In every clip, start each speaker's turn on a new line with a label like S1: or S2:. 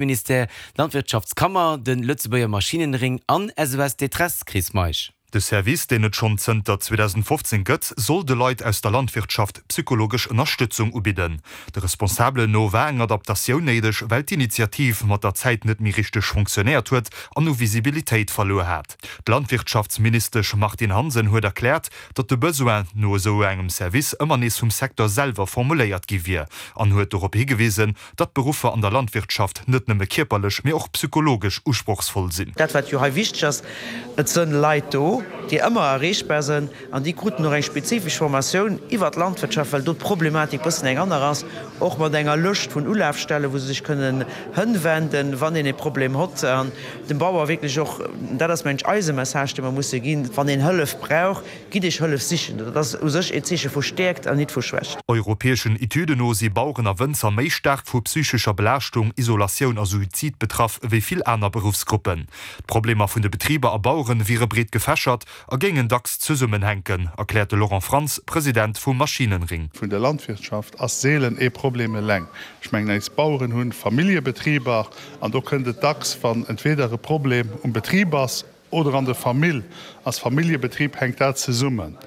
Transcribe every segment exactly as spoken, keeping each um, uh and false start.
S1: Ministère, d'Landwirtschaftskammer, de Lëtzebuerger Maschinenring an SOS Détresse, Chris Meisch.
S2: De Service, deen et schonn zënter zweedausendfofzéng gëtt, soll de Leit aus der Landwirtschaft psychologesch Ënnerstëtzung ubidden. De Responsabelen no war eng Adaptatioun néideg, well d'Initiativ mat der Zäit net méi richteg fonctionnéiert huet an u Visibilitéit verluer hat. D'Landwirtschaftsministesch Martine Hansen huet erkläert, datt de Besoin no esou engem Service ëmmer nees vum Secteur selwer formuléiert gi wier an huet dorop higewisen, datt d'Beruffer an der Landwirtschaft net nëmme kierperlech, mee och psychologesch usprochsvoll sinn.
S3: Dat wat jo hei wichteg ass, et sënn Leit do, déi ëmmer erreechbar sënn an déi kruten och eng spezifesch Formatioun iwwert d'Landwirtschaft, well do d'Problematik bëssen eng aner ass, och mat enger Lëscht vun Ulafstellen, wou se sech kënnen hënwenden, wann een e Problem hott. An dem Bauer wierklech och, dat ass mengen ech eise Message, dee mer musse ginn, wann een Hëllef brauch, Gitt Iech Hëllef sichen, dat ass u sech een Zeeche vu Stäerkt an nit vu Schwächt.
S2: Europäeschen Etüden no si Baueren a Wënzer méi staark vu psychescher Belaaschtung, Isolatioun a Suizid betraff ewéi vill aner Beruffsgruppen. D'Problemer vun de Betriber a Bauere wiere breet gefächert a géingen dacks zesummenhänken, erkläert de Laurent Frantz, President vum Maschinenring.
S4: Vun der Landwirtschaft ass seelen ee Problem eleng. Ech mengen, eis Baueren hu Familljebetriber an do kënnt et dacks, wann entweder e Problem um Betrib ass, Oder an der Famill, als Familljebetrib hänkt dat zesummen.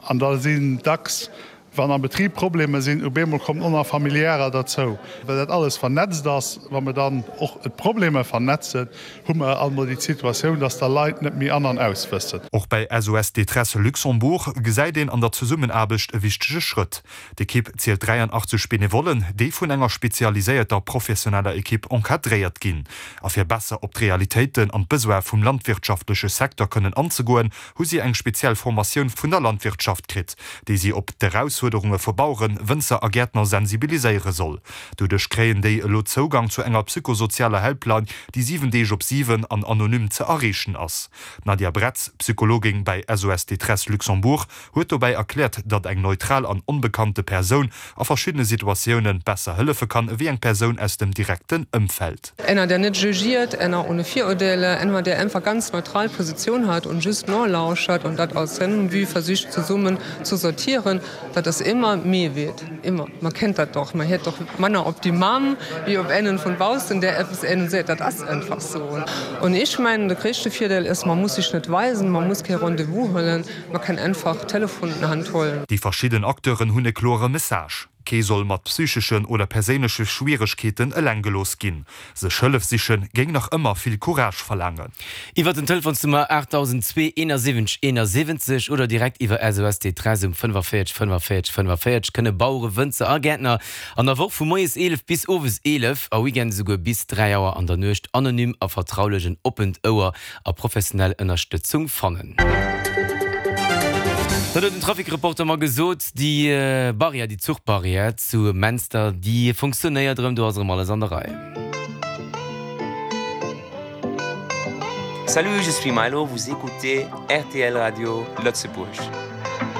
S4: An da sinn dacks, wann am Betrib Problemer sinn, op eemol kommen och nach Familiärer derzou. Well dat alles vernetzt ass, wa mer dann och d'Problemer vernetzen, hu mer alt mol déi Situatioun, dass da Leit net méi an an aus wëssen.
S2: Och bäi S O S Détresse Luxembourg gesäit een an der Zesummenaarbecht e wichtege Schrëtt. D'Ekipp zielt dräianachtzeg Benevollen, déi vun enger spezialiséierter professioneller Ekipp encadréiert ginn. A fir besser op d'Realitéiten an d'Besoine vum landwirtschaftleche Secteur kënnen anzegoen, hu si eng speziell Formatioun vun der Landwirtschaft kritt, déi si op d'Erausfuerderunge vu Baueren, Wënzer a Gäertner sensibiliséiere soll. Doduerch kréien déi elo Zougang zu enger psychosozialer Helpline, déi siwen Deeg op siwen an anonym ze erreechen ass. D'Nadia Bretz, Psychologin bäi S O S Détresse Luxembourg, huet dobäi erkläert, datt eng neutral an onbekannte Persoun a verschiddene Situatioune besser hëllefe kann ewéi eng Persoun aus dem direkten Ëmfeld.
S5: Einer der net jugiert, einer ohne Vorurteile, einer der einfach ganz neutral Position hat und just nolauschert und dat aus seinem Vue versicht zesummen zu sortieren, dat ass ëmmer méi wert, immer. Man kennt dat doch, man hiert doch manner op déi Mamm wéi op einen von baussen, der eppes engem seet. Dat ass einfach sou. Und ech mengen, de gréisste Virdeel ass, man muss sech net weisen, man muss kee Rendez-vous huelen, man kann einfach d'Telefon an d'Hand huelen.
S2: Déi verschidden Acteuren hunn e klore Message, Kee soll mat psycheschen oder perséinleche Schwieregkeeten eleng gelooss ginn. Sech Hëllef siche géing nach ëmmer vill Courage verlaangen.
S1: Iwwer den Telefonsnummer aachtdausend zwee eenasiwwenzeg eenasiwwenzeg oder direkt iwwer S O S Détresse um fënnefavierzeg fënnefavierzeg fënnefavierzeg kënne Bauere, Wënzer a Gäertner an der Woch vu moies eelef bis owes eelef, a Weekend esouguer bis dräi Auer an der Nuecht anonym a vertraulech en oppent Ouer a professionell Ënnerstëtzung fannen. Dat huet den Trafic-Reporter mer gesot. Déi Barrière, déi Zuchbarrière zu Menster, déi funktionéiert erëm, do ass erëm alles an der Rei.
S6: Salut, je suis Milo, vous écoutez R T L Radio Lëtzebuerg.